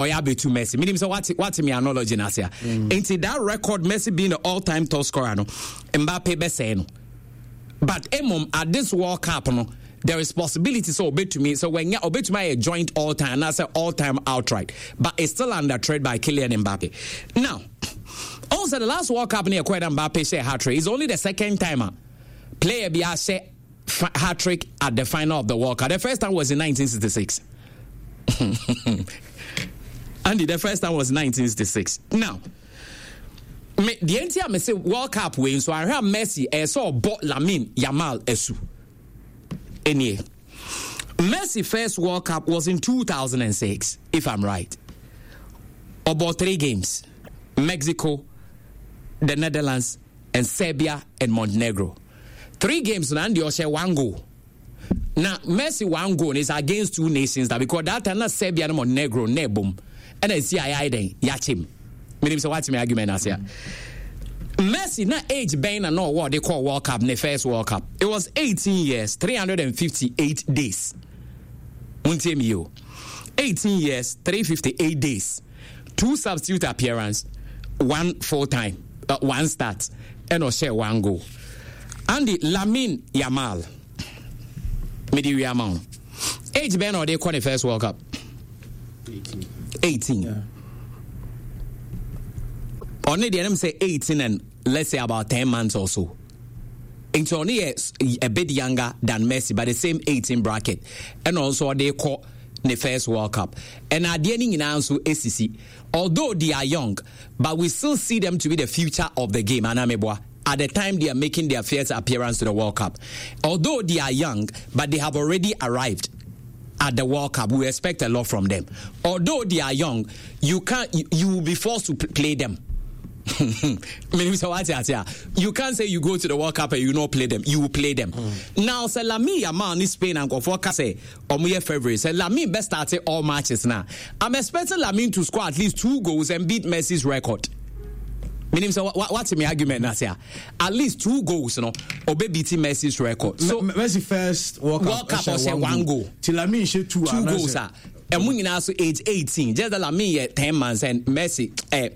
Ɔyɛ abɛtu Messi. Menim sɛ wate wate me analogy no ase a. Nti that record Messi being the all time top scorer no, Mbappe bɛsɛe no. But emom at this World Cup no, there is possibility sɛ ɔbɛtumi sɛ wanya ɔbɛtumi ayɛ joint all time anaasɛ all time outright. But it's still under threat by Kylian Mbappe. Now, also the last World Cup no yɛkɔɛ na Mbappe hyɛ hat trick. It's only the second time a player bi ahyɛ hat trick at the final of the World Cup. The first time was in 1966. Andy, the first time was 1966. Now, me deɛ nti a me se World Cup wei nso ahwɛ a Messi ɛyɛ sɛ ɔbɔ Lamine Yamal asu. Enie. Messi first World Cup was in 2006, if I'm right. About three games. Mexico, the Netherlands, and Serbia and Montenegro. Three games na Andy ɔhyɛ one goal. Na Messi one goal is against two nations that because that time na Serbia no Montenegro na ɛbom ɛna esi a yɛayɛ dɛn yɛakyem. Menim sɛ woate me argument ase a. Messi na age bɛn na na ɔwɔ ɔde kɔɔ World Cup ne first World Cup. It was 18 years 358 days. Muntie me yo. 18 years 358 days. Two substitute appearance, one full time, one start, ɛna ɔhyɛ one goal. Andy Lamine Yamal, mede wie ama wo. Age bɛn na ɔde kɔ ne first World Cup? 18. 18. Yeah. Ɔne deɛ nem sɛ 18 and let's say about 10 months or so. Nti ɔne yɛ a bit younger than Messi but the same 18 bracket. Ɛna ɔnso ɔde kɔ ne first World Cup. Ɛna adeɛ no nyinaa nso esisi. Although they are young, but we still see them to be the future of the game. Anaa meboa? At the time they are making their first appearance to the World Cup. Although they are young, but they have already arrived at the World Cup. We expect a lot from them. Although they are young, you can't you, you will be forced to play them. Menim sɛ wate ase a you can't say you go to the World Cup and you not play them. You will play them. Now sɛ Lamine Yamal ne Spain a nkurɔfoɔ ka sɛ ɔmo yɛ favourite sɛ Lamine bɛ start all matches na I'm expecting Lamine to score at least two goals and beat Messi's record. Menim sɛ wate me argument na ase a at least two goals no ɔbɛ beat Messi's record. So Messi first World Cup, World Cup ɔhyɛ one goal. Ti Lamine hyɛ two two goals a ɛmu nyinaa so age 18 just that Lamine yɛ 10 months and Messi eh,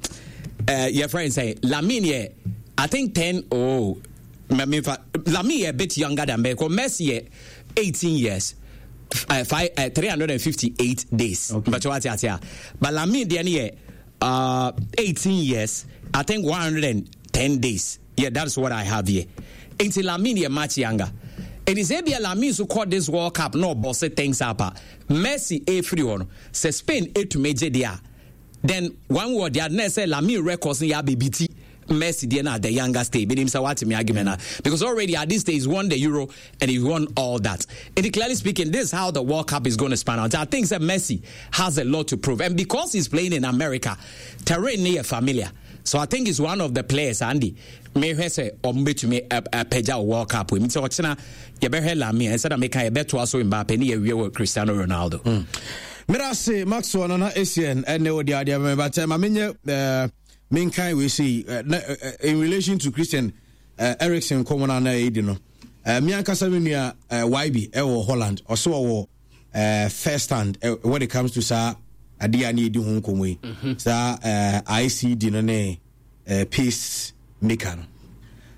eh, yɛ friend sɛ Lamine yɛ I think 10 oh mefa Lamine yɛ a bit younger than Messi Messi yɛ 18 years five, 358 days okay. but what ate a but Lamine deɛ no yɛ 18 years I think 110 days yeah that's what I have here nti Lamine yɛ much younger ɛni sɛ ebia Lamine so kɔ this World Cup na ɔbɔ se things up a Messi efiri hɔ no sɛ Spain etumi gye deɛ a then one word deɛ na ɛsɛ Lamine records no yɛ abɛbi ti Messi deɛ na at the younger stage menim sɛ wate me argument na because already at this stage he's won the Euro and he won all that. And clearly speaking, this is how the World Cup is going to span out. I think that Messi has a lot to prove, and because he's playing in America, terrain near familiar. So I think he's one of the players, Andy. mehwɛ sɛ ɔmo bɛtumi apagya wɔ World Cup mu nti ɔkyena yɛbɛhwɛ Lamine ɛsɛ na meka yɛbɛtoa so Mbappe ne yɛwie wɔ Cristiano Ronaldo. Meda se Maxwell Nana Essien ɛne wo deɛ adeɛ bɛmɛ but ma menyɛ menkan wei sei in relation to Christian Eriksen nkɔmmɔ no a na ɛdi no me ankasa me nua YB ɛwɔ Holland ɔsɛ ɔwɔ first hand when it comes to saa adeɛ a ne yɛdi ho nkɔmmɔ yi saa ICD no ne pace maker no.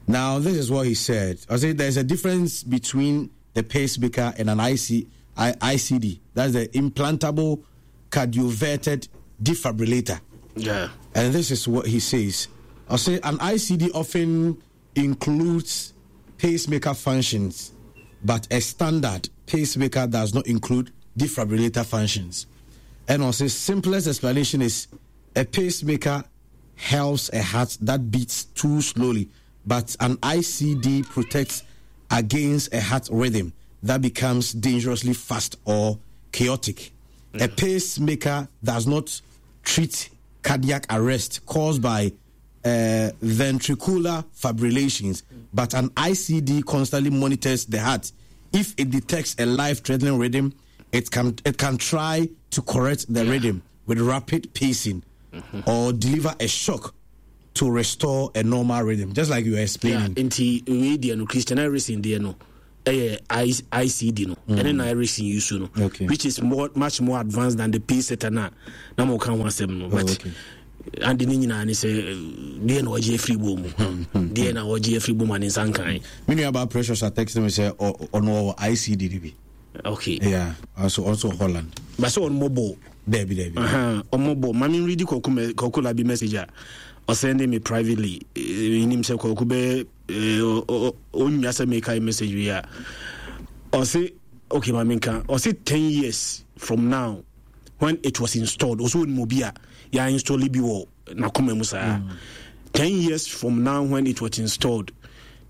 Now this is what he said. I said there's a difference between the pacemaker and an ICD. That's the implantable cardioverted defibrillator. Yeah. And this is what he says. I say an ICD often includes pacemaker functions, but a standard pacemaker does not include defibrillator functions. And also, simplest explanation is a pacemaker helps a heart that beats too slowly, but an ICD protects against a heart rhythm that becomes dangerously fast or chaotic. A pacemaker does not treat cardiac arrest caused by ventricular fibrillations, but an ICD constantly monitors the heart. If it detects a life-threatening rhythm, it can it can try to correct the yeah. rhythm with rapid pacing mm-hmm. or deliver a shock to restore a normal rhythm, just like you were explaining. Yeah, nti wei deɛ no Christian Eriksen deɛ no. Ɛyɛ ICD no mm. Ɛne na Ericsson use no, okay. Which is more, much more advanced than the pacesetter na na mo ka ho asɛm no, but oh, okay. Ade ne nyinaa ne sɛ deɛ na ɔgye afiri bɔ mu, deɛ na ɔgye afiri bɔ mu a ne nsa nkan. Me nua ba Precious a text me sɛ ɔno ɔwɔ ICD no bi. Okay. Yeah, also also Holland. Ba sɛ ɔno mɔbɔ. Dabi dabi. Ɔmɔbɔ. Mami nredi kɔku kɔku labi message a ɔsɛnde me privately. Nim sɛ kɔku bɛ ɔnnya sɛ mekae message wei a ɔse okay ma menka ɔse 10 years from now when it was installed, ɔsɛ ɔnim obi a yɛ install bi wɔ n'akoma mu saa. 10 years from now when it was installed,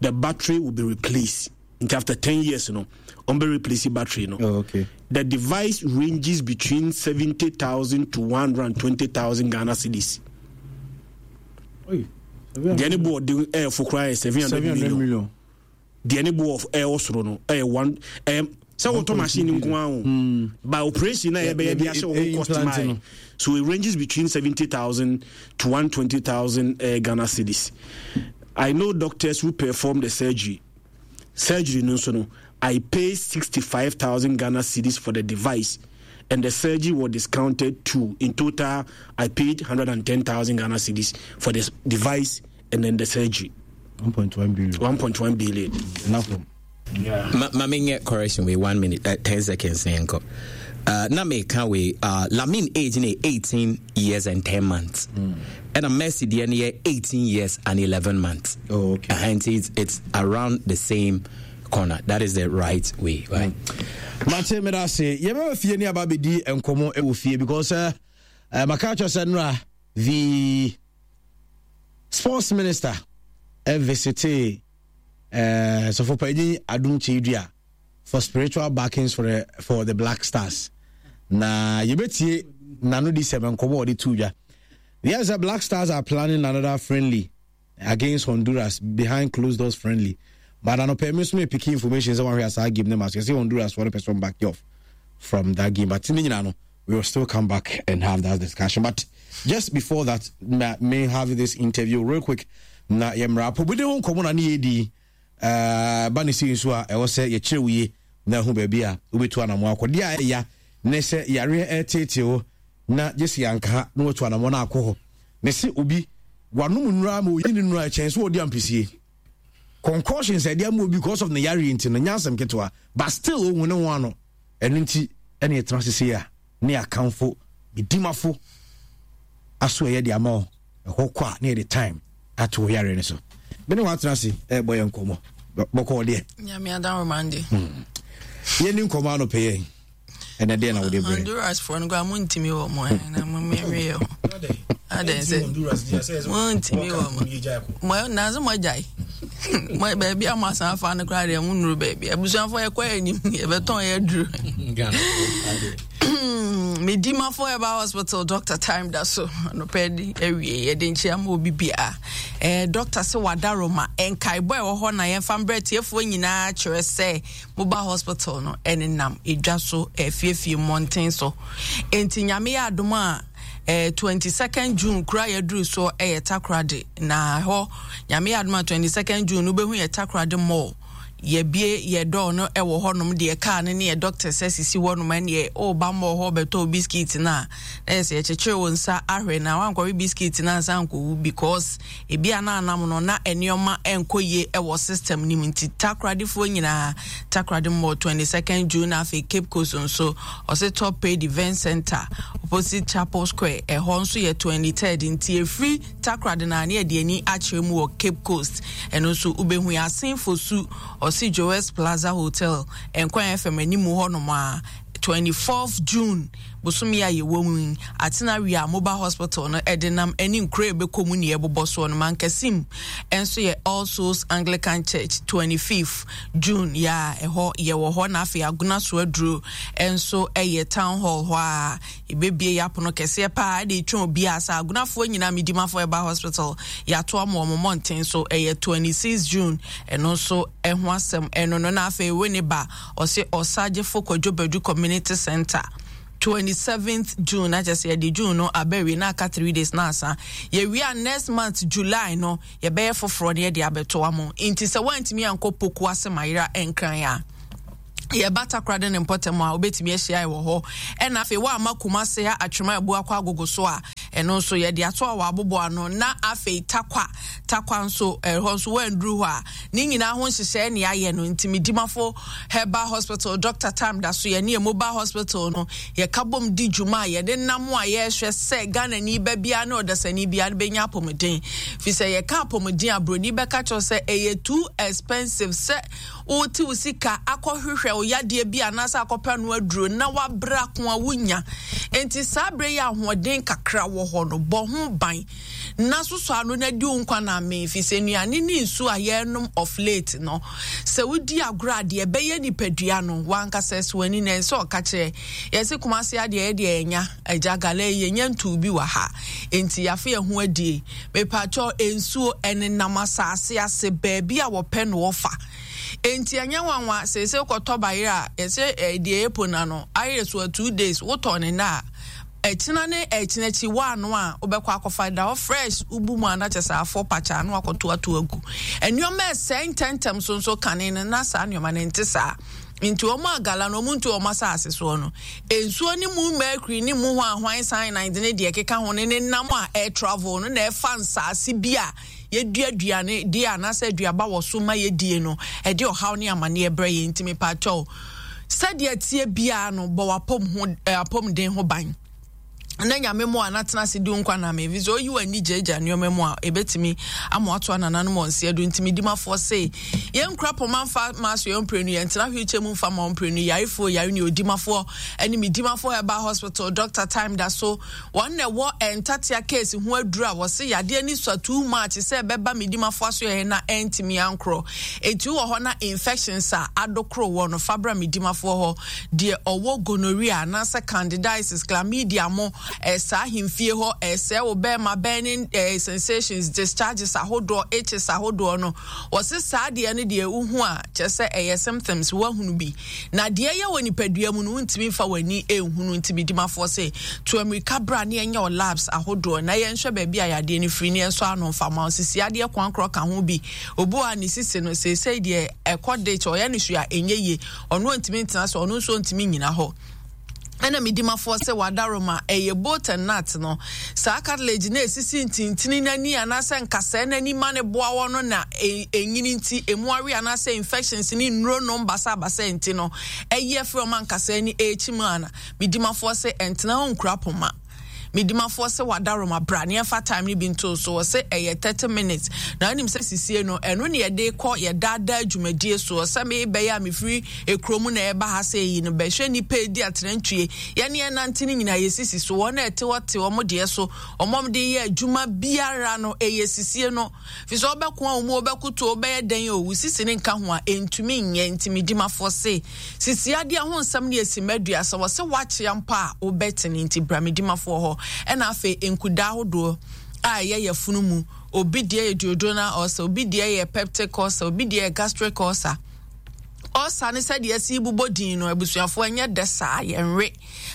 the battery will be replaced. Nti after 10 years no, ɔmbɛ replace battery no. Oh, okay. The device ranges between 70,000 to 120,000 Ghana cedis. Deɛ ne boɔ den ɛyɛ fo koraa yɛ 700 million. Deɛ ne boɔ ɛwɔ soro no ɛyɛ one ɛyɛ sɛ wotɔ machine nko ara o hmm. By operation na yɛbɛyɛ de ahyɛ wɔn cost maa, so it ranges between 70,000 to 120,000 uh, Ghana cedis. I know doctors who perform the surgery no nso no, I pay 65,000 Ghana cedis for the device and the surgery was discounted too. In total, I paid 110,000 Ghana cedis for this device and then the surgery. 1.1 billion. 1.1 billion. Enough. Yeah. Ma, ma menyɛ correction wei 1 minute, 10 seconds ne yɛnkɔ. Na meka wei, Lamin age ne 18 years and 10 months. Ɛna Messi deɛ no yɛ 18 years and 11 months. Oh, okay. And it's around the same corner. That is the right way, right? Mate, meda ase. Yɛbɛba fie ne aba bɛdi nkɔmmɔ wɔ fie because maka kyerɛ sɛ nnora the sports minister visitee Sɔfopanyin Adom Kyei-Duah for spiritual backings for the Black Stars. Na yɛbɛtie n'ano di sɛm nkɔmmɔ a ɔde to dwa. Yes, the Black Stars are planning another friendly against Honduras behind closed doors friendly. But anɔpɛ mi nso mi pick information sɛ wɔn ahwɛ asaa game ne ma so yɛsɛ Honduras for the person back off from that game. But ne nyinaa no, we will still come back and have that discussion. But just before that, may have this interview real quick. Na yɛmmra apɔmuden ho nkɔmmɔ na ne yɛdi ba ne sei nso a ɛwɔ sɛ yɛkyerɛ wo yie na ɛho baabi a wobɛtu anamɔ akɔ. Deɛ a ɛya ne sɛ yareɛ ɛreteetee wo na gye sɛ yɛanka ha na watu anamɔ no akɔ hɔ. Ne se obi wanom nnura ma oyi ne nnura ɛkyɛn so ɔdi ampesie. Concussions ɛde ama obi because of ne yareɛ nti no nyɛ asɛm ketewa, but still ohun ne ho ano. Ɛno nti ɛne yɛtena ase sei a ne yɛakamfo medimafo aso ɛyɛ de ama wo ɛhɔ kɔ a ne yɛde time ato wo yareɛ no so. Me ne wɔatena ase ɛrebɔ yɛn nkɔmmɔ bɔkɔɔ deɛ. Nyame adawomande. Yɛni nkɔmmɔ anɔpɛ yɛn ɛnɛ deɛ na wode brɛ. Honduras foɔ no koraa montumi wɔ mo na momɛwe ho adɛn sɛ montumi wɔ mo nanso moagyae baabi a moasan afa no koraa deɛ monnuru baabi. Abusuafoɔ, yɛkɔ anim, yɛbɛtɔn yɛ aduru. Medimafo Herbal Hospital, Doctor Time da so anɔpɛ de awie. Yɛde nkyea ma obi biara. Eh, doctor sɛ wada Roma nkaebɔ a ɛwɔ hɔ na yɛmfa mbrɛ tiefoɔ nyinaa kyerɛ sɛ moba hospital no ɛnenam edwa so, afiefie, mmɔnten so. Enti Nyame yɛ adom a, 22nd June kura yɛduru soɔ ɛyɛ Takoradi, na hɔ Nyame yɛ adom a 22nd June no wobɛhu yɛ Takoradi Mall. Yɛbie yɛ dɔɔ no ɛwɔ hɔnom deɛ kaa no ne yɛ doctors asisi hɔnom. Ɛneɛ ɔreba mall hɔ bɛtɔ biscuit no a, na yɛ sɛ yɛkyekyere wo nsa ahwɛ na wankɔwe biscuit no ansa ankɔwu, because ebi a na anam no na nneɛma ɛnkɔ yie ɛwɔ system no mu. Nti Takoradefoɔ nyinaa, Takoradi Mall 22nd June. Afei Cape Coast nso, ɔsɛ Top Paid Event Center opposite Chapel Square, ɛhɔ nso yɛ 23rd. Nti efiri Takoradi na ne yɛde ani akyerɛ mu wɔ Cape Coast, ɛno nso wobɛhu yɛ. Asen Fosu, ɔse Joes Plaza Hotel, Nkwan FM animu hɔnom a, 24th June bosome a yɛwɔ mu yi. Atena Wia Mobile Hospital no ɛde nam ɛne nkuro a ɛbɛkɔ mu ne ɛbobɔ soɔ no. Mankasim nso yɛ All Souls Anglican Church, 25th June yɛ a ɛhɔ yɛwɔ hɔ. Na afei Agona so aduro nso ɛyɛ Town Hall hɔ a yɛbɛbie yɛ apono kɛseɛ paa ɛde retwɛn obiara sɛ Agonafoɔ nyinaa. Medimafoɔ ɛba hospital, yɛato ama wɔn mmɔnten so, ɛyɛ 26 June. Ɛno nso ɛho asɛm ɛno no. Na afei Winneba, ɔse Ɔsagyefo Kwadwo Badu Community Center. 27th June na kyerɛ sɛ yɛde June no aba awie na aka 3 days na asa. Yɛwie a next month July no yɛbɛyɛ foforɔ na yɛde abɛto amo. Nti sɛ woantumi ankɔ Poku ase Mayera Nkran a, yɛba Takoradi ne mpɔtam a wobɛtumi ahyia wɔ hɔ. Ɛna afei woamma Kumase ha Atwema Abu akɔ Agogo so a, ɛno nso yɛde ato a wɔabobo ano. Na afei Takwa, Takwa nso ɛhɔ nso woanduru hɔ a, ne nyinaa ho nhyehyɛe ne ayɛ no. Nti Medimafo Herbal Hospital, Doctor Tam da so, yɛne yɛn mobile hospital no, yɛka bom di dwuma a yɛde nam a yɛrehwɛ sɛ Ghanani ba biara ne ɔdasani biara no bɛnya apɔmuden. Fi sɛ yɛka apɔmuden a, buroni bɛka kyerɛ sɛ ɛyɛ too expensive sɛ wote wo sika akɔhwehwɛ wo yadeɛ bi anaasɛ akɔpɛ no aduro na wabrɛ ako a wonya. Enti saa berɛ yi ahoɔden kakra wɔ hɔ no, bɔ ho ban. Na sosɔ ano na di wo nkwa na amee, ɛfiri sɛ nnuane ne nsuo a yɛrenom of late no, sɛ wodi agorɔ a, deɛ ɛbɛyɛ nipadua no, w'ankasa ɛsɔ w'ani na ɛnsɛ ɔka kyerɛ. Yɛse Kumasi adeɛ yɛ deɛ yɛnya, agya gala yi yɛnya ntuu bi wɔ ha, enti yɛafe yɛn ho adie. Mepakyɛw, nsuo ɛnenam asase ase baabi a wɔpɛ no wɔfa. Enti ɛnyɛ nwanwa seesei wokɔtɔ bayerɛ a, yɛse eh, deɛ ɛpo na no, ayere so a 2 days, wotɔ ne nna a, Ɛkyena ne ɛkyena akyi woano a wobɛkɔ akɔfa da hɔ fresh wobu mu a na kyɛ sɛ afɔ pakyaa na wakɔto ato agu. Nneɛma ɛsɛe ntɛmntɛm so nso kane no na saa nneɛma no nte saa. Nti wɔn a gala no wɔn ntu wɔn asase soɔ no nsuo ne mu mercury ne mu hwan hwan cyanide ne deɛ ɛkeka ho ne ne nam a ɛɛ travel no na ɛfa nsaase bi a yɛdua aduane deɛ anaasɛ aduaba wɔ so ma yɛdie no ɛde ɔhaw ne amaneɛ brɛ yɛn. Nti mepaakyɛw sɛdeɛ ɛteɛ biara no bɔ w'apɔm ho eh, apɔmuden ho ban na nyame mu a na tena ase di nkwa na me sɛ oyi w'ani gyagya nneɛma mu a ebetumi ama wato anananom wɔn nseɛ do. Ntumi dimafoɔ se yɛn kura pɔma nfa maa so yɛn mprenu yɛn tena wheelchair mu nfa ma mprenu yarefoɔ yare ne odimafoɔ ɛne me dimafoɔ herbal hospital doctor time da so wɔn na ɛwɔ ntatea case ho aduru a wɔse yadeɛ ne sua too much sɛ ɛbɛba medimafoɔ aso yɛ na ɛntumi ankorɔ. Enti wɔ hɔ na infections a adokoro wɔ no fa bra medimafoɔ hɔ. Deɛ ɔwɔ gonorrhea anaasɛ candidiasis, chlamydia mo, ɛsaa ahemfie hɔ, ɛsɛe wo bɛrima burning eh, sensations, discharges ahodoɔ, itches ahodoɔ no, wɔse saa deɛ no deɛ wohu a kyerɛ sɛ ɛyɛ symptoms woahunu bi. Na deɛ ɛyɛ wɔ nipadua mu no wontumi mfa w'ani nhunu. Nti medimafoɔ se to amirika bra ne ɛnyɛ wɔ labs ahodoɔ na yɛnhwɛ baabi a yadeɛ no firi ne yɛnsɔ ano mfa ma wo. Sisi adeɛ koankorɔ ka ho bi. Obi wɔ a ne sisi no seesei deɛ ɛkɔ ditch, ɔyɛ no hwee a ɛnyɛ yie, ɔno ɔntumi ntena so, ɔno nso ɔntumi nyina hɔ. Ɛna medimafoɔ sɛ wadaroma ɛyɛ bolt and nut no, saa cartilage na ɛsisi ntintini n'ani anaasɛ nkasɛɛ n'ani ma ne boa wɔ no na ɛnyini nti ɛmu awe anaasɛ infections ne nnuro nom basabasa nti no ɛyi afiri ɔma nkasɛɛ ne ɛrekyi mu ana. Medimafoɔ sɛ ɛntena hɔ nkura poma. Medimafoɔ sɛ wadaroma bra ne ɛfa time no bi nto so, wɔ sɛ ɛyɛ 30 minutes na wonim sɛ sisie no ɛno ne yɛde kɔ yɛdaadaa dwumadie soɔ sɛ mebɛyɛ a mefiri ekuro mu na ɛba ha sɛ yi no bɛhwɛ nnipa edi atenantwie yɛne ɛnante no nyinaa yɛsisi so wɔn a ɛte hɔ te wɔn deɛ so wɔn a wɔde yɛ adwuma biara no ɛyɛ sisie no fi sɛ ɔbɛko a wɔn ɔbɛkoto ɔbɛyɛ dɛn o sisi ne nka ho a ɛntumi nyɛ. Nti medimafoɔ se sisi adeɛ ho nsɛm no yɛ simma 30 wɔ sɛ woakyea mpo a wobɛtene. Nti bra medimafoɔ hɔ. Ɛna afei nkudaa ahodoɔ a ɛyɛ yafunu mu, obi deɛ yɛ duodenal ulcer, obi deɛ yɛ peptic ulcer, obi deɛ yɛ gastric ulcer. Ulcer ne sɛdeɛ ɛsi bobɔ din no abusuafoɔ ɛnyɛ dɛ saa, yɛnwe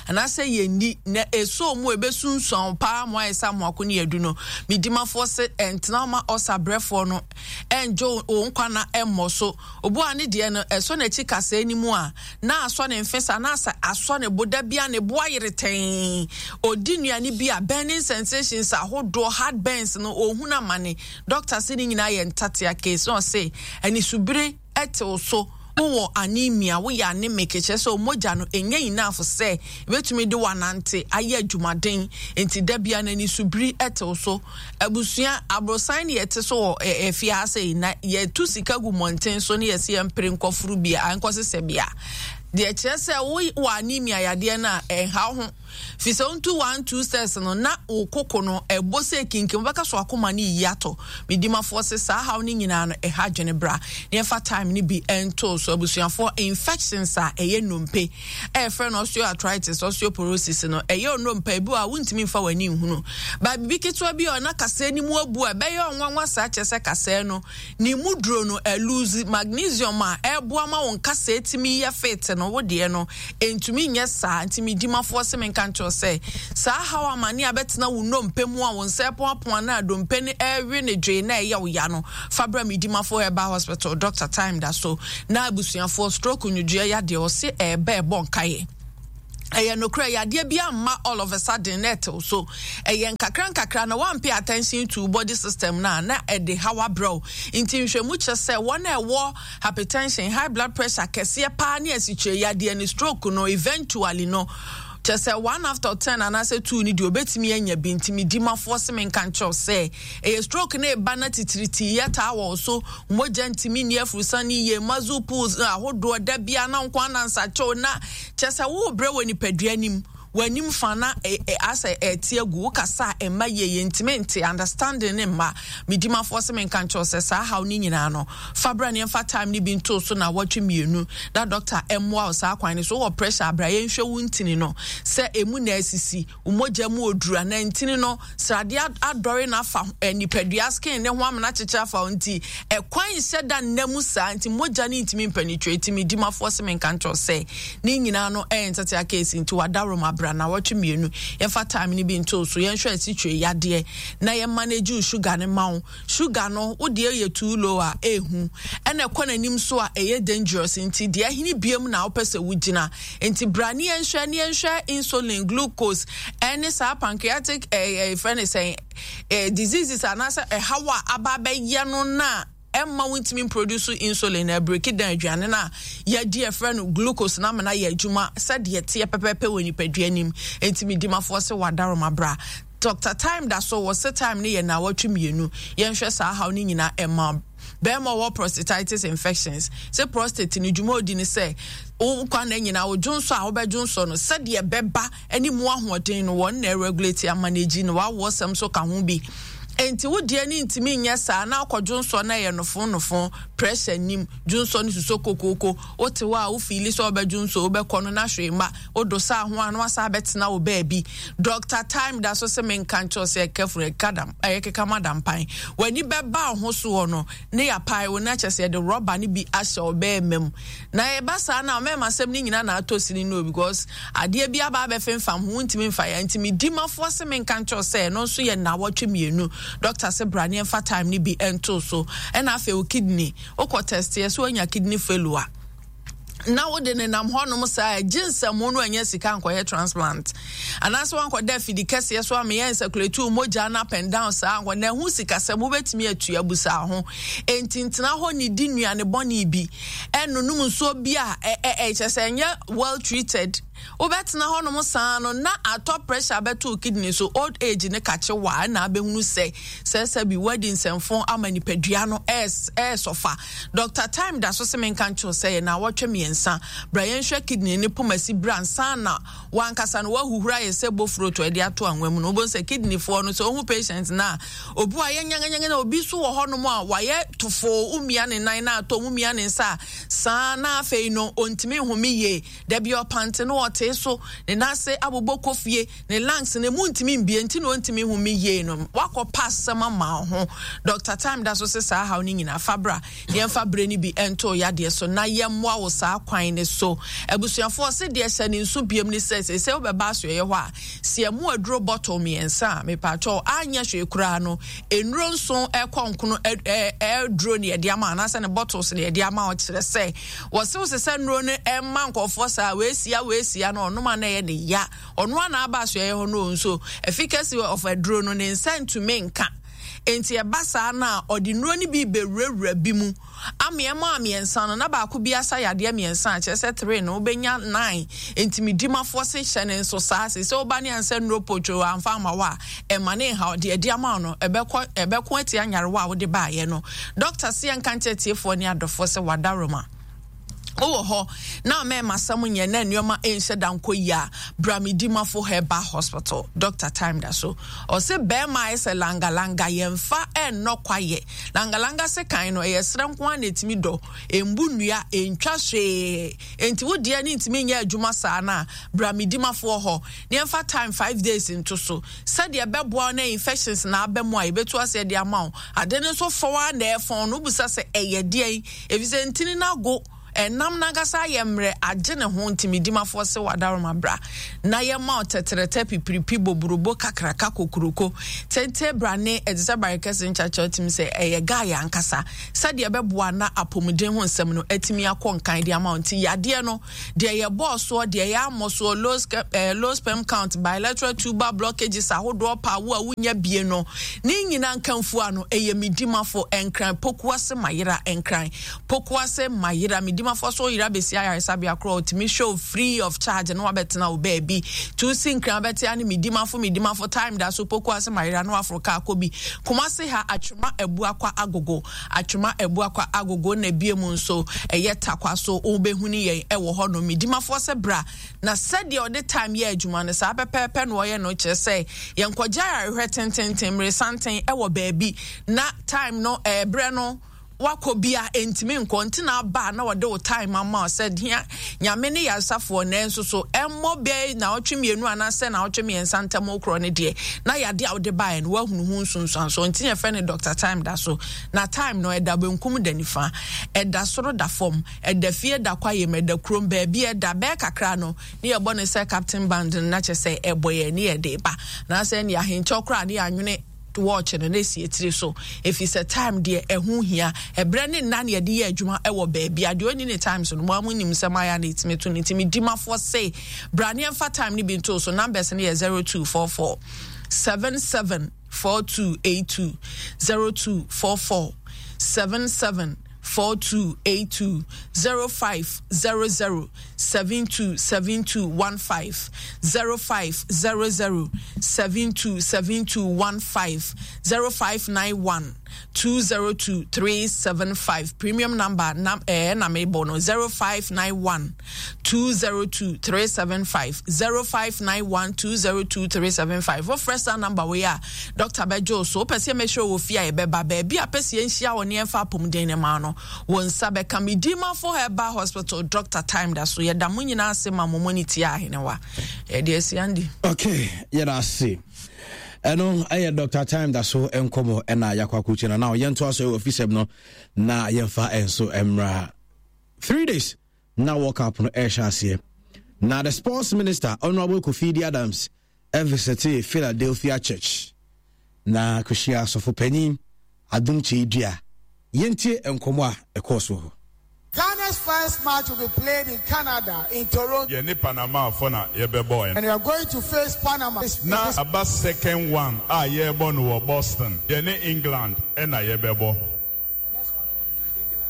anaasɛ yɛnni na ɛsɔ mu ɛbɛsunsuan paa mo ayɛ sɛ amoako ne yɛadu no. Medimafoɔ se ɛntena ma ulcer brɛfoɔ no ɛngye wo nkwa na ɛmmɔ so. Obu a ne deɛ no ɛsɔ n'akyi kasɛɛ no mu a, na asɔ ne mfe saa, na asɛ asɔ ne bo da bi a ne bo ayere tɛnn. Ɔdi nnuane bi a, burning sensations ahodoɔ, heart burns no, ɔhunu amane. Doctor se ne nyinaa yɛ ntatea case. Na ɔse anisubire tew so, wowɔ anemia, woyɛ anemic, kyerɛ sɛ mogya no ɛnyɛ enough sɛ ɛbɛtumi de wanante ayɛ adwumaden, nti da bia no anisubiri tew so. Abusua, aborosan ne yɛte so wɔ afie ha sei, na yɛtu sika gu mmɔnten so ne yɛse yɛmpere nkɔforo bi a, nkɔsesɛ bi a, deɛ kyerɛ sɛ wowɔ anemia yadeɛ no a, ɛnha wo ho. Fi sɛ wontu one two steps no na wo koko no ɛbɔ sɛ kinkim wobɛka so akoma no yiyi atɔ. Medimafoɔ se saa haw no nyinaa no ɛha adwene bra na yɛmfa time no bi ntoo so. Abusuafoɔ infections a ɛyɛ nnompe a yɛfrɛ no osteoarthritis, osteoporosis no ɛyɛ nnompe ebi wɔ a wontumi mfa w'ani nhunu. Ba biribi ketewa bi a na kasɛɛ no mu abu a ɛbɛyɛ ɔnwanwa saa kyerɛ sɛ kasɛɛ no Ne mu duro no ɛluzi magnesium a ɛboa ma wo nkasɛɛ tumi yɛ fit no, wo deɛ no ɛntumi nyɛ saa. Nti me dimafoɔ se menka nkyerɛ wo sɛ saa haw amane a bɛtena wo nnompe mu a wo nsa ɛpoapoa na dompe no ɛrewe ne dwee na ɛyɛ wo ya no, fa bra me dimafoɔ Herbal Hospital, Doctor Time da so. Na abusuafoɔ stroke nwodwoeɛ yadeɛ ɔse ɛɛba ɛbɔ nkaeɛ. Ɛyɛ nokorɛ, yadeɛ bi amma all of a sudden na ɛtew so. Ɛyɛ nkakra nkakra na woan pay attention to body system no a, na ɛde haw abrɛ wo. Nti nhwɛmu kyerɛ sɛ wɔn a ɛwɔ hypertension, high blood pressure kɛseɛ paa ne asikyire yadeɛ ne stroke no eventually no, kyerɛ sɛ one after ten anaasɛ two no deɛ obetumi anya bi. Nti me dimafoɔ se menka nkyerɛ wo sɛ ɛyɛ stroke no eba na titiritii yɛ taa wɔ wo so, mogya ntumi nni afurusane yie, muscle pulls ahodoɔ da biara na nko anansakyɛw na Kyerɛ sɛ worebrɛ wɔ nipadua no mu, w'anim fa na asɛ ɛte agu, wokasa a ɛmma yie, yɛntumi nte, understanding no mma. Me dimafoɔ se menka nkyerɛ wo sɛ saa haw no nyinaa no, fa bra na yɛmfa time no bi nto so naawɔtwe mmienu na doctor mmoa wo saa kwan no so. Wowɔ pressure a, bra yɛnhwɛ wo ntini no sɛ ɛmu na asisi, wo mogya mu oduru anaa ntini no sradeɛ adɔre no afa eh, nipadua skin ne ho amena kyekyere afa wo nti ɛkwan nhyɛ da nna mu saa nti mogya no ntumi mpenetrate. Me dimafoɔ se menka nkyerɛ sɛ ne nyinaa no ɛyɛ ntatea case nti wadaworo abra na wɔtwe mmienu yɛmfa time no bi nto so yɛnhwɛ asikyire yadeɛ na yɛ manage sugar no ma wo. Sugar no wo deɛ yɛ too low a ɛhu ɛna ɛkɔ n'anim so a ɛyɛ dangerous nti deɛ ɛhene biam na wopɛ sɛ wogyina nti bra ne yɛnhwɛ ne yɛnhwɛ insulin glucose ɛne saa pancreatic ɛɛ ɛfrɛ ne sɛn ɛɛ diseases anaasɛ ɛhaw a aba abɛyɛ no na ɛmma wontumi mproduce insulin na ɛbreki dan aduane no a yɛadi ɛfrɛ no glucose na amena yɛ adwuma sɛdeɛ ɛteɛ pɛpɛpɛ wɔ nipadua nim nti medimafoɔ sɛ wadaroma bra Doctor Time da so wɔ se time no yɛ naawɔtwe mmienu. Yɛnhwɛ saa haw no nyinaa ɛma bɛrima ɔwɔ prostatitis infections. Se prostate no dwuma odi ne sɛ wo nkwa nna nyinaa wo dwonsɔ a wobɛdwonsɔ no sɛdeɛ ɛbɛba ne mu ahoɔden no wɔn na ɛregulate amanage no wawoɔ sɛm so ka ho bi. Enti wo deɛ no ntumi nyɛ saa na akɔ dwonsɔ na ɛyɛ nofo nofo pressure nim dwonsɔ no susɔ kokooko wote hɔ a wo fiili sɛ wobɛdwonsɔ wobɛkɔ no na hwee mma Wodo saa ho a na wasan abɛtena wo baabi. Doctor Time da so sɛ menka nkyerɛ wo sɛ ɛka ɛka dam ɛyɛ keka ma dampan. W'ani bɛba wo ho soɔ no ne yɛapae wo na kyerɛ sɛ yɛde rɔba no bi ahyɛ wo bɛɛma mu. Na ɛba saa na mɛma asɛm no nyinaa na atɔ sini no because adeɛ bi aba abɛfemfam ho wontumi mfa yɛ. Nti medi mafoɔ se menka nkyerɛ wo sɛ ɛno nso yɛ nnawɔtwe mmienu. Doctor se bra ne yɛmfa time no bi nto so. Ɛna afei wo kidney wokɔ test yɛ sɛ woanya kidney failure. Na wode nenam hɔnom saa a, gye nsɛmmo no anya sika nkɔyɛ transplant anaasɛ wankɔda afidi kɛseɛ so ameyɛ nsɛkuletu mogya no up and down saa nkɔ na ɛho sikasɛm wobɛtumi atua busaa ho. Enti ntena hɔ ne di nnuane bɔne bi ɛnonom nsuo bi a ɛkyɛ sɛ ɛnyɛ well treated. Wobɛtena hɔnom saa no na atɔ pressure bɛto wo kidney so, old age ne kakye wa na abɛhunu sɛ sɛ sɛbi woadi nsɛmfo ama nipadua no ɛɛsɔfa. Doctor Time da so se menka nkyerɛ wo sɛ yɛ naawɔtwe mmiɛnsa bra yɛnhwɛ kidney ne pomasi bra ansa na wankasa no wahuhura ayɛ sɛ bofrot a ɛde ato anwa mu no. Wobɛhu sɛ kidney foɔ no sɛ wohu patient no a obi wayɛ nyanganyangan na obi nso wɔ hɔnom a wayɛ tofoo, womia ne nan na atɔ, womia ne nsa a saa na afei no ɔntumi nhome yie. Da bi ɔpante no ɔtee so, ne nan ase abobɔ kɔ fie, ne lungs no emu ntumi mbie nti na ɔntumi nhome yie no. Wakɔ pa asɛm ama wo ho. Doctor Time da so se saa haw no nyinaa fa bra na yɛmfa bere no bi nto wo yadeɛ so na yɛmmoa wo saa kwan no so. Abusuafoɔ ɔse deɛ hyɛ ne nso biom ne sɛ seesei wobɛba asoɛeɛ hɔ a, si ɛmo aduro bottle mmiɛnsa a, mepaakyɛw anyɛ hwee koraa no, nnuro nson ɛkɔ nkono aduro ne yɛde ama anaasɛ ne bottles ne yɛde ama wo kyerɛ sɛ Wɔsew se sɛ nnuro no mma nkurɔfoɔ saa, weesia weesia no ɔnom a na ɛyɛ ne ya. Ɔno a na aba asoɛeɛ hɔ no nso, efficacy of aduro no ne nsa ntumi nka. Enti ɛba saa no a, ɔde nnuro no bi bɛwurawura bi mu. Ameɛmɔ a mmiɛnsa no, na baako bi asa yadeɛ mmiɛnsa a, kyerɛ sɛ three no, wobɛnya nine. Enti me dimafoɔ se hyɛ ne nso saa. Se sɛ woba ne ansa nnuro potwoo amfa amma wo a, ɛmma ne nhaw. Deɛ ɛde ama wo no, ɛbɛkɔ, ɛbɛko atia nyarewa a wode baeɛ no. Dɔkta se yɛnka nkyerɛ atiefoɔ ne adɔfoɔ sɛ wadaroma. Wowɔ hɔ na mɛma asɛm nyɛ na nneɛma nhyɛ da nkɔ yie a, bra Medimafo Herbal Hospital. Doctor Time da so. Ɔse bɛrima ayɛ sɛ langalanga, yɛmfa ɛnnɔ kwayɛ. Langalanga sekan no, ɛyɛ serɛ nko ara na ɛtumi dɔ. Ɛmbu nnua, ɛntwa hwee. Enti wo deɛ ne ntumi nyɛ adwuma saa no a, bra Medimafoɔ hɔ na yɛmfa time 5 days nto so. Sɛdeɛ ɛbɛboa wo na infections na aba mu a, yɛbɛtu aseɛ de ama wo. Ade no nso fɔw ara na ɛfɔn no, wobisa sɛ ɛyɛ deɛn? Efisɛ ntini no ago, ɛnam no ankasa ayɛ mmerɛ, agye ne ho, nti medimafoɔ se w'adaworoma bra na yɛma wo tɛtrɛtɛ pipiripi boburobo kakraka kokuroko tente brane ɛte sɛ bare kɛse nkyakya wotumi sɛ ɛyɛ guy ankasa sɛdeɛ ɛbɛboa na apɔmuden ho nsɛm no atumi akɔ nkan de ama wo. Nti yadeɛ no deɛ yɛbɔɔ soɔ, deɛ yɛammɔ soɔ, low sperm count, bilateral tubal blockages ahodoɔ, paa wo a wonya bie no ne nyinaa nkamfua no, ɛyɛ medimafo Nkran Pokuase Mayera, Nkran Pokuase Mayera. Medimafo so yera bɛsi ayaresabea korɔ, ɔtumi hwɛ wo free of charge na wabɛtena wo baabi tu si Nkran bɛtea ne medimafo medimafo time da so Pokuase Mayera na waforo kaa kɔ bi. Kumase ha, Atwema Abuakwa Agogo, Atwema Abuakwa Agogo, na ebie mu nso ɛyɛ Takwa so, wobɛhunu yɛn ɛwɔ hɔ no. Medimafoɔ sɛ bra na sɛdeɛ ɔde time yɛ adwuma no saa pɛpɛɛpɛ na ɔyɛ no, kyerɛ sɛ yɛnkɔgya ayarehwɛ tententen mmeresanten ɛwɔ baabi na time no ɛɛbrɛ no wakɔ bia ntumi nkɔ. Nti na aba na wɔde wo time ama wo sɛ hia Nyame ne yaresafoɔ, nanso so ɛmmɔ bɛɛ na ɔtwe 2 anaasɛ na ɔtwe 3 ntam korɔ no deɛ na yade a wode baeɛ no woahunu ho nsunsuansoɔ. Nti yɛfrɛ no Doctor Time da so. Na time no ɛda benkum, da nifa, ɛda soro, da fam, ɛda fie, da kwayɛ mu, ɛda kurom baabi, ɛda bɛɛ kakra no ne yɛbɔ ne sɛ captain band no na kyɛ sɛ ɛbɔ yɛn ne yɛde ba na sɛ ne ahenkyɛw koraa ne yɛanwene watch no na esi etiri so, efi sɛ time deɛ ɛho hia. Ɛbrɛ ne nna ne yɛde yɛ adwuma ɛwɔ baabi a deɛ ɔni ne time so no mo amu nim sɛ mayɛ na etimi to ne ntumi di mafoɔ se bra ne ɛnfa time ne bi nto so. Numbers no yɛ 0244 77 4282, 0244 77 4282, 0500 727215, 0500 727215, 0591 202 375. Premium number na na mebɔ no 0591 202 375, 0591 202 375. Wofrɛ saa number wei a, doctor bɛgye wo so. Wopɛ sɛ yɛmɛhyɛ wɔ fie a, yɛbɛba baabi a pɛ sɛ yɛnhyia wɔ ne yɛmfa apɔmuden ne ma no wo nsa bɛka. Medimafo Herbal Hospital, Doctor Time da so. Yɛda mo nyinaa ase ma mo mɔne tie ahenewa yɛde asi andi. Okay, yɛda ase. Ɛno ɛyɛ Dr Time da so nkɔmmɔ ɛna yɛakɔ akɔkyɛ no na yɛntoa so ɛwɔ afisɛm no na yɛmfa ɛnso mmra. 3 days na World Cup no ɛrehyɛ aseɛ na the sports minister, Honorable Kofi Adams, ɛvisite Philadelphia Church na kɔhyia asɔfo panyin Adom Kyei Dua. Yɛntie nkɔmmɔ a ɛkɔɔ so hɔ. Ghana's first match will be played in Canada, in Toronto. Yɛne Panamafoɔ na yɛbɛbɔ ɛno. And we are going to face Panama. Na aba second one a yɛrebɔ no wɔ Boston, yɛne England ɛna yɛbɛbɔ.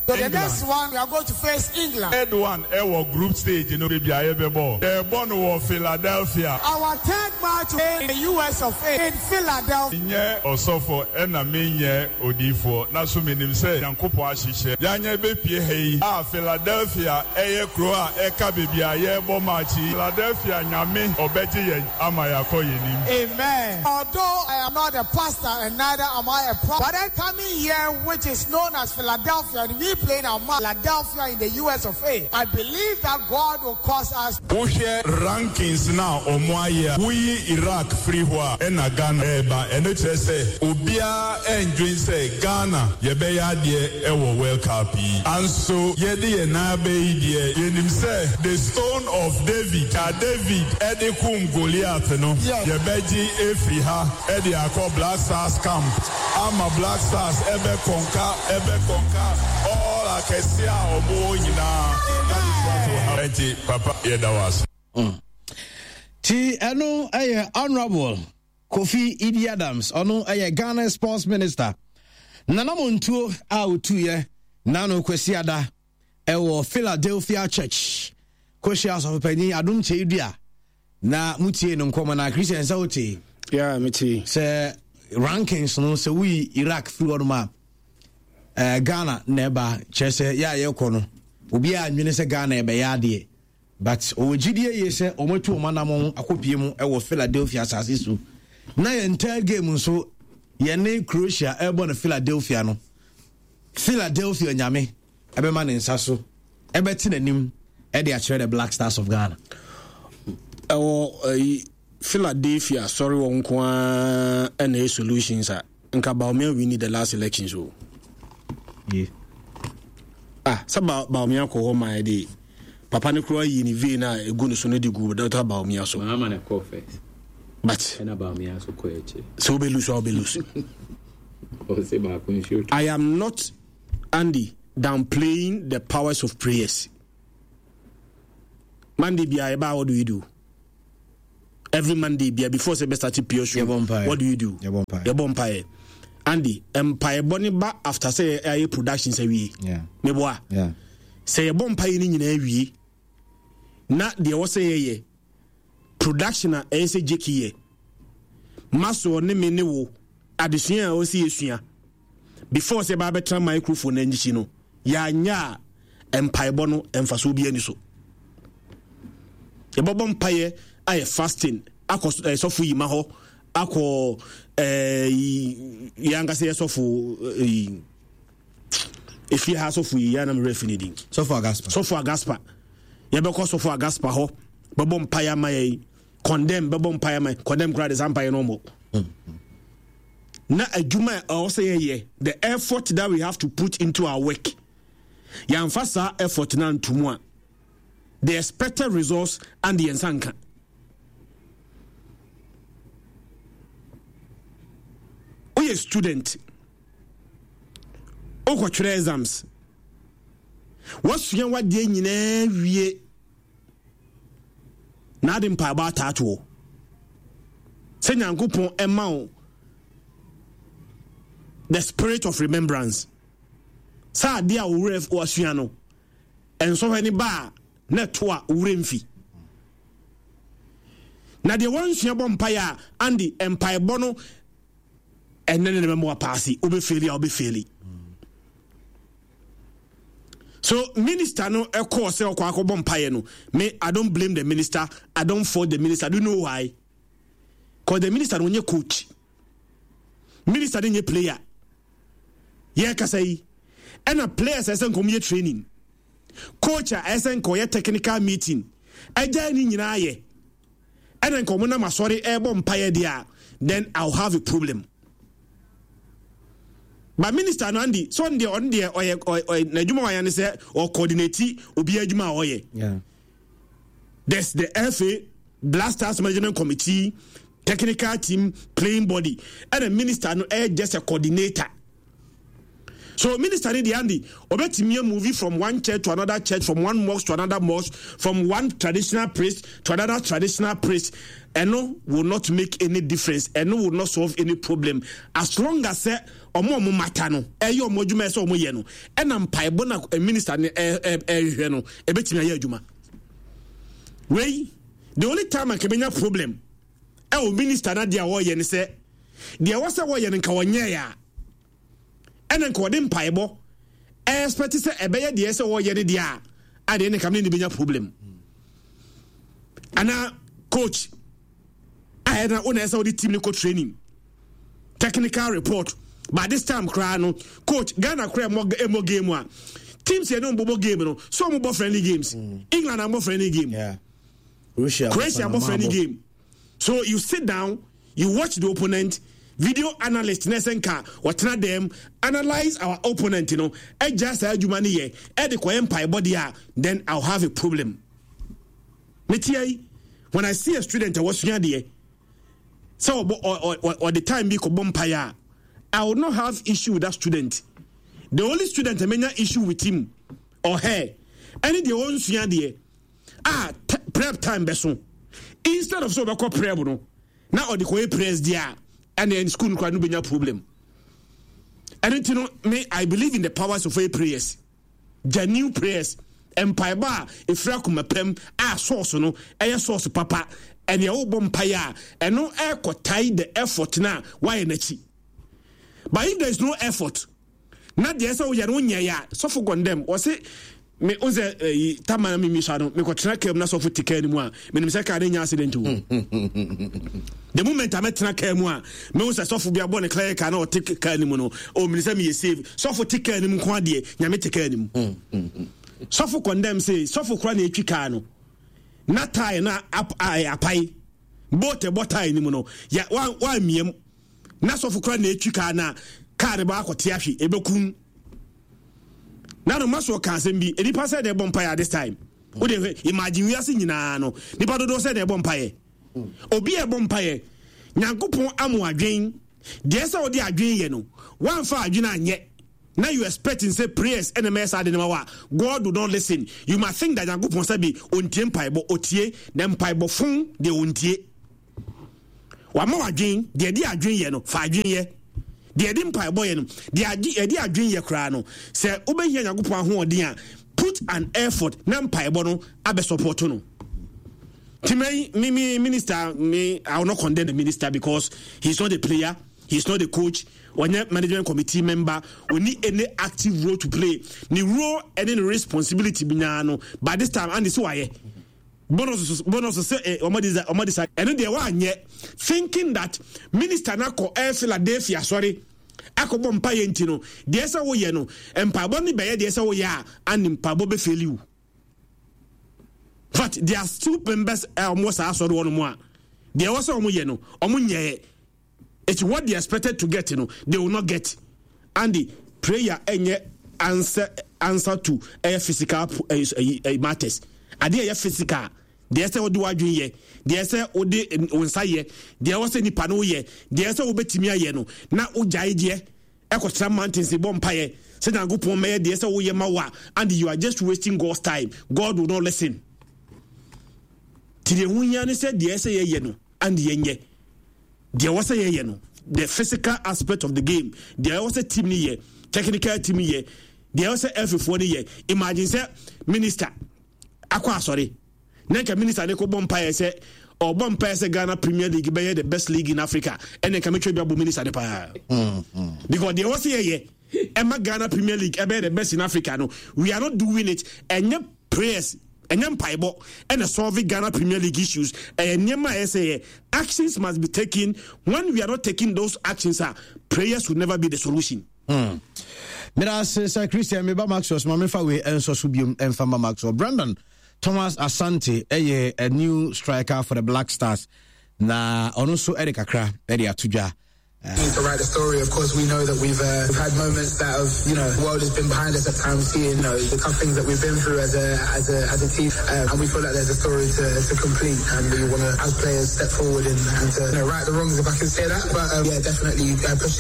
So the next one, we are going to face England. Third one ɛwɔ group stage no, baabi a yɛbɛbɔ, yɛrebɔ no wɔ Philadelphia. Our third match in the US of A in Philadelphia. Menyɛ ɔsɔfo ɛna menyɛ odiyifoɔ, na so menim sɛ Nyankopɔn ahyehyɛ yɛanya bɛpue ha yi a Philadelphia ɛyɛ kuro a ɛka baabi a yɛrebɔ match yi. Philadelphia Nyame ɔbɛgye yɛn ama yɛakɔ yɛn anim. Amen. Although I am not a pastor and neither am I a prophet, but then coming here, which is known as Philadelphia, and we playing our match Philadelphia in the US of A, I believe that God will cause us. Wohwɛ rankings no a ɔmo ayɛ a, woyi Iraq firi hɔ a ɛna Ghana ɛɛba. Ɛno kyerɛ sɛ obiara ɛndwen sɛ Ghana yɛbɛyɛ adeɛ ɛwɔ World Cup yi. Anso yɛde yɛn nan aba yi deɛ, yɛnim sɛ the stone of David a David ɛde kum Goliath no, yɛbɛgye afiri ha ɛde akɔ Black Stars camp ama Black Stars ɛbɛ conquer ɛbɛ conquer all akɛseɛ a ɔmo wɔ nyinaa. That is what will happen. Ɛnti papa, yɛda wo ase. Ti ɛno ɛyɛ Honorable Kofi Idi Adams, ɔno ɛyɛ Ghana sports minister. Nanamontuo a ɔtuiɛ nano Kwasiada ɛwɔ Philadelphia Church kɔhyia asɔfopanyin Adom Kyei Dua na mutie no nkɔmmɔ na Christian sɛ wote. Yeah, mete. Sɛ rankings no sɛ woyi Iraq firi hɔ nom a, Ghana na ɛba, kyerɛ sɛ yɛ a yɛkɔ no. Obiara nwene sɛ Ghana ɛbɛyɛ adeɛ. But ɔwɔ gyidie yie sɛ wɔatu wɔn anamɔn akɔpie mu wɔ Philadelphia asase so. Na yɛn third game nso yɛne Croatia ɛrebɔ no Philadelphia no. Philadelphia nyame ɛbɛma ne nsa so ɛbɛte n'anim ɛde akyerɛ the Black Stars of Ghana. Ɛwɔ ɛyi Philadelphia sɔre wɔn nko ara ɛna ɛyɛ solutions a. Nka Bawumia winni the last elections o. Yeah. Ah, sɛ ba Bawumia kɔ hɔ ma ɛde papa no koraa yi ne vein a egu ne so no de gu Dr. Bawumia so. Mahama na kɔ first. But. Ɛna Bawumia so kɔ akyire. Sɛ wobɛ lose a wobɛ lose. Ɔsɛ baako nsuo. I am not Andy downplaying the powers of prayers. Monday bia ɛba what do you do? Every Monday bia before sɛ bɛ start pure show. What do you do? Yɛbɔ mpaeɛ. Andy, mpaebɔ ne ba after sɛ yɛayɛ productions awie. Meboa. Sɛ yɛbɔ mpaeɛ no nyinaa wie na deɛ ɛwɔ sɛ yɛyɛ production a ɛyɛ sɛ Jackie yɛ masoɔ ne me ne wo adesua a ɛwɔ sɛ yɛsua before sɛ ɛbaa bɛtena microphone no akyi no yɛanyɛ a mpaebɔ no mfasoɔ bi ani so yɛbɛbɔ mpaeɛ ayɛ fasting akɔ eh, sɔfo yima hɔ akɔ eh, yɛn ankasa yɛ sɔfo eh, efie ha sɔfo yi yɛn anam werɛ fi ne din sɔfo agaspa sɔfo agaspa yɛbɛkɔ sɔfo agaspa hɔ bɛbɔ mpaeɛ ama yɛn condemn bɛbɔ mpaeɛ ama yɛn condemn koraa de saa mpaeɛ no ɔmmɔ na adwuma a ɛwɔ sɛ yɛyɛ the effort that we have to put into our work yɛamfa saa effort no anto mu a the expected results and yɛn nsa nka woyɛ student wokɔtwerɛ exams wasua wadeɛ nyinaa wie na ade mpaebɔ ataatoɔ sɛ nyankopɔn ɛma wo the spirit of remembrance sɛ adeɛ a owurɛ wasua no nsɔhwɛ ne ba a na ɛto a owurɛ mfi na deɛ wansua bɔ mpaeɛ a ande mpaebɔ no ɛnɛ ne ne bɛma wapaase wobɛfeeli a wobɛfeeli so minister no ɛkɔɔ sɛ ɔkɔ akɔbɔ mpaeɛ no me i don't blame the minister i don't fault the minister do you know why cause the minister no ɔnyɛ coach minister no nyɛ player yɛkasa yi ɛna players ɛsɛ nka ɔmo yɛ training coach a ɛsɛ nka ɔyɛ technical meeting ɛgya ne nyinaa yɛ ɛna nka ɔmo nam asɔre ɛbɔ mpaeɛ deɛ a then i'll have a problem but minister no andi so ɔno deɛ ɔno deɛ ɔyɛ ɔyɛ n'adwuma wayɛ ne sɛ ɔcoordinate obi adwuma a ɔyɛ there's the FA Blasters management committee technical team playing body ɛna minister no ɛyɛ just a coordinator so minister ni deɛ andi ɔbɛtumi a movie from one church to another church from one mosque to another mosque from one traditional priest to another traditional priest ɛno will not make any difference ɛno will not solve any problem as long as sɛ ɔmo ɔmo mata no ɛyɛ ɔmo adwuma ɛsɛ ɔmo yɛ no ɛna mpaebɔ na eh, minister no ɛhwehwɛ no ɛbɛtumi ayɛ adwuma wei the only time a kɛbɛnya problem ɛwɔ minister no adeɛ a wɔyɛ ne sɛ deɛ ɛwɔ sɛ wɔyɛ no nka wɔnyɛɛ a ɛna nka wɔde mpaebɔ ɛɛspɛte sɛ ɛbɛyɛ deɛ sɛ wɔyɛ no deɛ a adeɛ ne nka ne ne bɛnya problem anaa coach a ɛna wo na ɛsɛ wode team no kɔ training technical report by this time koraa no coach Ghana koraa ɛmɔ ɛmɔ game a teams yɛ ne wɔn bɔ game no so wɔn bɔ friendly games mm. England abɔ friendly game yeah. Russia Croatia bɔ friendly game so you sit down you watch the opponent video analyst na ɛsɛ nka ɔtena dɛm analyse our opponent no ɛgya saa adwuma no yɛ ɛde kɔyɛ mpaebɔ deɛ a then I'll have a problem metia yi when I see a student a wɔsua adeɛ sɛ ɔbɔ ɔde time bi kɔbɔ mpaeɛ a I will not have issue with that student the only student a menya issue with him or her ɛne deɛ ɔnsua adeɛ a prep time bɛso instead of sɛ ɔbɛkɔ prep no na ɔde kɔyɛ prayers deɛ a ɛne school no koraa no bɛnya problem ɛno nti no me I believe in the powers of prayers Genuine prayers, mpaebɔ a ɛfiri akoma pam a source no ɛyɛ source papa, ɛnea wobɔ mpaeɛ a ɛno ɛrekɔtae the effort no a woayɛ no akyi. But if there is no effort, na deɛ ɛsɛ woyɛ no wonyɛeɛ a, sɔfo gɔndɛm, wɔse Me n sɛ ɛyi eh, tama na mimi sa no mekɔtena kaa mu na sɔfo te kaa no mu a menim sɛ kaa no nya accident o. The moment a mɛtena kaa mu a mehu sɛ sɔfo bi abɔ ne clear kaa na ɔte kaa no mu no o menim sɛ meyɛ save. Sɔfo te kaa no mu nko adeɛ nyame te kaa no mu. Sɔfo condemn se sɔfo kora na ɛtwi kaa no na tae na apae boat ɛbɔ tae no mu no ya wa miam na sɔfo kora na ɛtwi kaa na kaa no bɔ akɔte ahwe ɛbɛkum na no ma so ɔka asɛm bi nipa sɛ na ɛbɔ mpaeɛ at this time wode hwɛ imagine wiase nyinaa no nipa dodoɔ sɛ na ɛbɔ mpaeɛ obi a ɛbɔ mpaeɛ nyankopɔn amo adwen deɛ sɛ wode adwen yɛ no woamfa adwen anyɛ na you expecting sɛ prayers ɛna mɛyɛ saa de no ma wa God will not listen. You must think that nyankopɔn sɛ bi ɔntie mpaebɔ. Ɔtie na mpaebɔ fon deɛ ɔntie. Wama wadwen deɛ ɛde adwen yɛ no fa adwen yɛ deɛ ɛde mpaebɔ yɛ no deɛ ɛde adwen yɛ koraa no sɛ wobɛhia nyankopɔn ahoɔden a put an effort na mpaebɔ no abɛ support no. Timai, me, me minister, me, I will not condemn the minister because he's not a player, he's not a coach, ɔnyɛ management committee member, ɔni any active role to play. Ne role and ne responsibility bi nyinaa no, by this time, and so wayɛ. Bonus bonus sɛ eh, ɔmo de ɔmo de sa ɛno deɛ wanyɛ thinking that minister na kɔ ɛɛ Philadelphia sɔre akɔbɔ mpaeɛ nti no deɛ sɛ woyɛ no mpaebɔ no bɛyɛ deɛ sɛ woyɛ a ane mpaebɔ bɛfɛli wo. But there are still members a wɔn wɔ saa asɔre wɔn mu a deɛ ɛwɔ sɛ wɔn yɛ no wɔn nyɛɛ. It's what they expected to get no they will not get. And the prayer ɛnyɛ answer answer to ɛyɛ physical ɛyɛ ɛyɛ matters. Adeɛ ɛyɛ physical deɛ ɛsɛ wɔde w'adwene yɛ deɛ ɛsɛ wɔde wɔn nsa yɛ deɛ ɛwɔ sɛ nipa no yɛ deɛ ɛsɛ wɔbɛtumi ayɛ no na wogyae deɛ. Ɛkɔtra mountains bɔ mpaeɛ sɛ Nyankopɔn mɛyɛ deɛ sɛ woyɛ ma wo a, and you are just wasting God's time. God will not listen. Ti deɛ ho hia ne sɛ deɛ ɛsɛ yɛyɛ no and yɛnyɛ deɛ ɛwɔ sɛ yɛyɛ no, the physical aspect of the game, deɛ ɛwɔ sɛ team no yɛ, technical team yɛ, deɛ ɛwɔ sɛ ɛfifoɔ no yɛ. Imagine sɛ minister akɔ asɔre na nka minister ne kɔbɔ mpaeɛ sɛ ɔbɔ mpaeɛ sɛ Ghana Premier League bɛyɛ the best league in Africa, ɛne nka metwa bi abɔ minister ne paa because deɛ ɛwɔ sɛ yɛyɛ ɛma Ghana Premier League ɛbɛyɛ the best in Africa no, we are not doing it. Ɛnyɛ prayers, ɛnyɛ mpaebɔ ɛna solve Ghana Premier League issues. Ɛyɛ nneɛma a ɛsɛ yɛ actions must be taken. When we are not taking those actions a, prayers will never be the solution. Meda ase sɛ Christian meba Maxwell so ma mefa wei ɛnsɔ so biom ɛmfa ma Maxwell. Brandon Thomas Asante ɛyɛ a new striker for the Black Stars na ɔno nso ɛde kakra ɛde ato dwa. Need to write the story. Of course, we know that we've we've had moments that have, the world has been behind us at times, seeing the tough things that we've been through as a as a as a team, and we feel like there's a story to, to complete, and we want to, as players, step forward and, and to right the wrongs, if I can say that. But yeah, definitely push it.